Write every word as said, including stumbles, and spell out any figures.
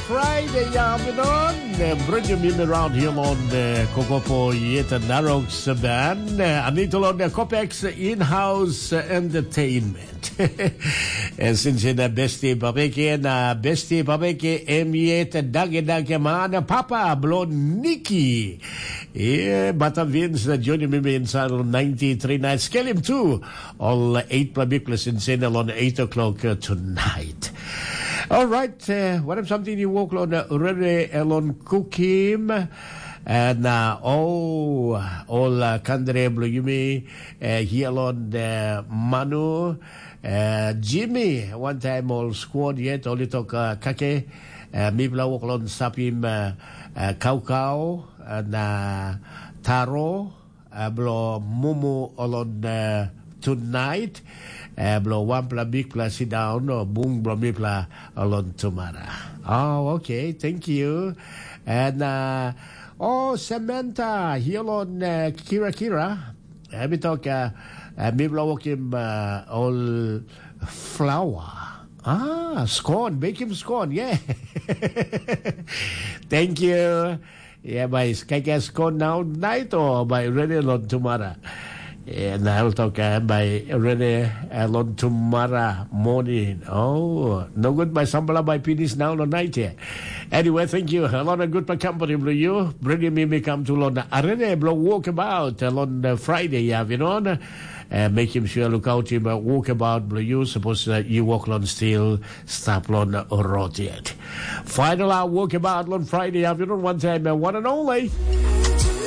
Friday afternoon, uh, bringing you around here on the Kokopo Yet Narok Saban. Uh, Anita on the Copex in-house uh, entertainment. Eh, since in the bestie babeke na bestie babeke em yet dage dage man papa blo Nikki. Yeah, but uh, Vince uh, joining me inside on ninety-three nights. Scale him too. All uh, eight public lessons in on eight o'clock uh, tonight. All right, uh, what if something you walk on uh, Rere Elon Kukim? And uh, oh, all uh, Kandre Bluyumi, uh, Hialon uh, Manu, uh, Jimmy, one time all squad yet, only talk uh, kake, uh, mipla walk on sapim uh, uh, kaukau, and uh, taro, uh, blo mumu olon uh, tonight, uh, blo wanpela bikpela sit down, o bung blo mipela olon tumara. Oh, okay, thank you. And uh, oh, Samantha, here on uh, Kira Kira. Let me talk, uh, uh, mipela walk him uh, all flour. Ah, scone, bake him scone, yeah. Thank you. Yeah, bai kaikai scone now night or bai ready long tomorrow. Yeah, na el toka bai ready uh, long tomorrow morning. Oh, no good by sambala by finish now no night here. Anyway, thank you. A lot of good for company blue you. Bringing me me come to London. I ready blow walk about uh, on uh, Friday afternoon. Uh, make him sure look out him uh, walk about blue you. Suppose uh, you walk on still stop on uh, road yet. Final hour walk about on Friday afternoon. One time, uh, one and only.